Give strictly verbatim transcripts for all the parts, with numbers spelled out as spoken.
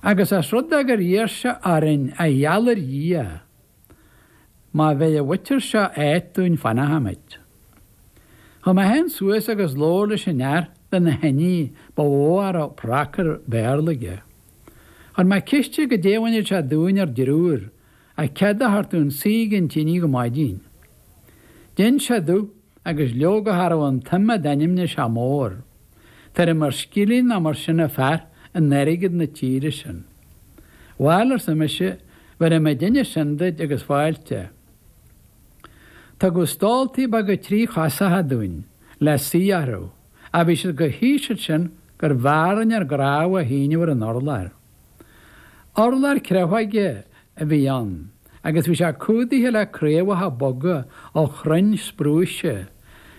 Agus as rud é gur iarr sé orainn a gheall ar Dhia, má bheidh an mhuintir seo áit dúinn fanfaimid. Chuaigh mé féin suas agus labhair leis an fhear de na hinní ba mhó a raibh pracar Béarla aige. Chuir mé ceist air goidé a bhainfeadh sé dúinn ár dtriúr ach cead a thabhairt dúinn suí ag an tine go maidin. D'inis sé domh agus leoga cha raibh an tsuim a d'ainmnigh sé mór, tuairim ar scilling nó mar sin an fear in airgead na tíre sin. Bhail, arsa mise, bhéarfaidh muidinne sin duit agus fáilte. Tugadh stóltaí beaga trí-chosacha dúinn le suí orthu, ach bhí siad chomh híseal sin gurbh fhearr linn ár gcnámha a shíneadh ar an urlár. Urlár creafóige a bhí ann agus bhí sé cumhdaithe le craobhacha boga ó chrainn sprúise,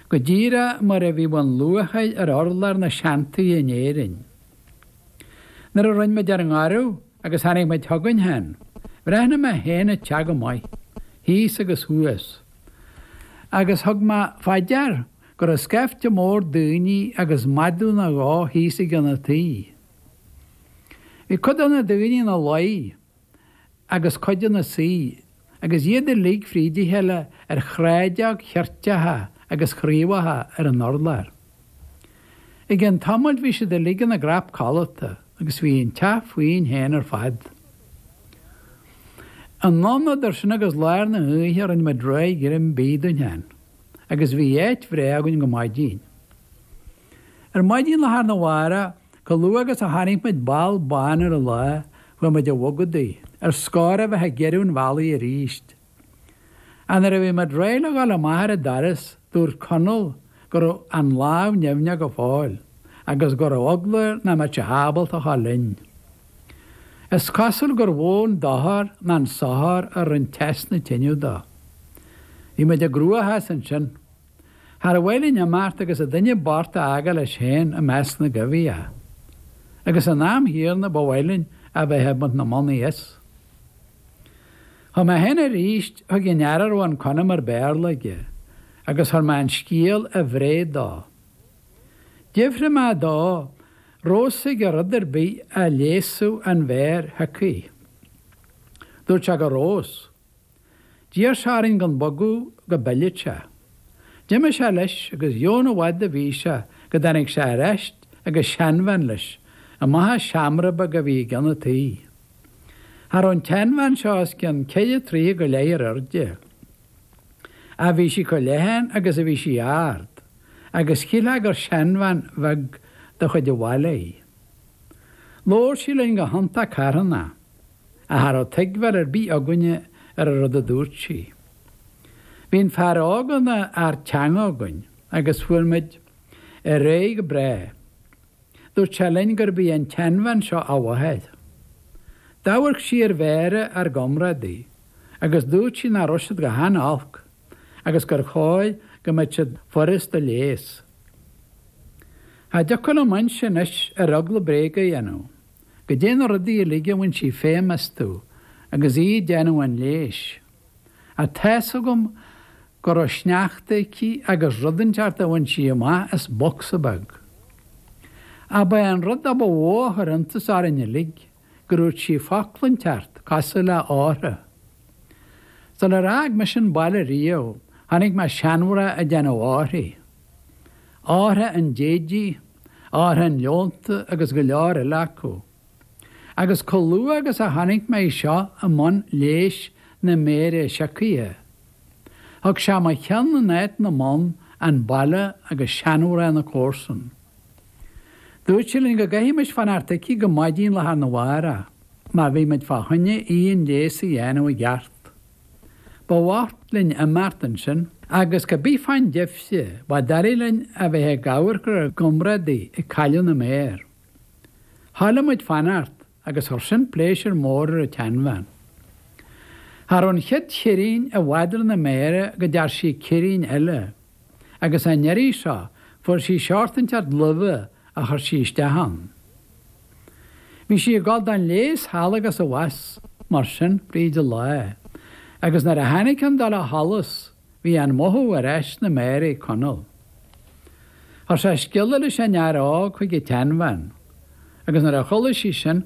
go díreach mar a bhíodh an luachair ar urlár na seantithe in Éirinn. Nuair a rinne muid ár ngoradh agus tháinig muid chugainn féin, bhreathnaigh mé féin an teach go maith, thíos agus thuas, agus thug mé fá dear go raibh scaifte mór daoine agus madadh nó dhó thíos i gceann an tí. Bhí cuid de na daoine ina luí agus cuid ina suí, agus iad uilig fríd a chéile ar shráideog cheirteacha agus chraobhacha ar an urlár. I gcionn tamaill bhí siad uilig ina gcrap codlata agus bhí an teach fúinn féin ar fad. Anonn idir sin agus lár na hoíche rinne muid réidh greim bídh dúinn féin agus bhí áit bhreá againn go maidin. Ar maidin lá arna mhárach, chomh luath agus a chonaic muid ball bán ar an lá, chuaigh muid a bhogadh ar scor a bheith ag iarraidh an bhealaigh arís. Ach nuair a bhí muid réidh le dhul amach ar an doras, dúirt Conall go raibh an lámh nimhneach go fóill agus go raibh eagla air nach mbeadh sé ábalta a dhul linn. Is cosúil gur mhó an dochar ná an sochar a rinne teas na tine dó. Bhí muid i gcruachás ansin. Char mhaith linn imeacht agus an duine bocht a fhágáil leis féin i measc na gcoimhthíoch. Agus san am chéanna ba mhaith linn a bheith ag baint na mbannaí as. Chuaigh mé féin arís chuig an fhear a raibh an Conamar Béarla aige agus chuir mé an scéal i bhfréamh dó. D'fhiafraigh mé dó raibh fhios aige rud ar bith a leigheasfadh an mhéar shiocaí. Dúirt sé go raibh fhios. D'iarr sé orainn gan bogadh go bpillfeadh sé. D'imigh sé leis agus dheamhan i bhfad a bhí sé go dtáinig sé ar ais agus seanbhean leis amach as seomra beag a bhí i gceann an tí. Cha raibh an tseanbhean seo os cionn ceithre troighe go leith ar airde. Ach bhí sí chomh leathan agus a bhí sí ard, agus shílfeá gur seanbhean bheag de chuid an bhaile í. Labhair sí linn go hiontach carthanach, ach cha raibh tuigbheáil ar bith againne ar an rud a dúirt sí. Bhí an fear óg ina fhear teanga againn agus fuair muid ar aghaidh go breá. Dúirt sé linn gurb í an tseanbhean seo a mháthair. D'amharc sí ar mhéara ár gcomrádaí agus dúirt sí nach raibh siad go han-olc agus gur chóir go mbeadh siad furast a leigheas. Cha dtiocfadh liom inse anois ar eagla bréag a dhéanamh, goidé na rudaí uilig a bhain sí feidhm astu agus í ag déanamh an leighis. Ach tá's agam go raibh sneachta aici agus rud inteacht a bhain sí amach as bocsa beag. Ach ba é an rud a ba mhó a chuir iontas orainn uilig go ndúirt sí focal inteacht cosúil le órtha. Sular fhág mise an baile riamh chonaic mé seanmhná ag déanamh órthaí. Órtha an déidigh, órtha an leonta agus go leor eile acu. Agus chomh luath agus a chonaic mé í seo i mbun leighis na méire siocaithe, thug sé mo cheann in áit na mbonn an baile agus seanmhná na comharsan. Dúirt sí linn go gcaithfimis fanacht aici go maidin lá arna mhárach má bhí muid fá choinne aon leigheas a dhéanamh i gceart. Ba bhocht linn imeacht ansin agus cibé fán deifre, ba doiligh linn a bheith ag amharc ar ár gcomrádaí ag cailleadh na méar. Thoiligh muid fanacht agus chuir sin pléisiúr mór ar an tseanbhean. Cha raibh an chéad cheirín i bhfad ar na méara go dtear sí ceirín eile, agus an iarraidh seo fuair sí seort inteacht luibhe a chuir sí isteach ann. Bhí sí ag dul don leigheas thall agus abhus mar sin fríd an lá, agus nuair a tháinig an dul a sholas bhí an mothú ar ais sna méara ag Conall. Chuir sé scéala leis an fhear óg chuig an tseanbhean, agus nuair a chuala sí sin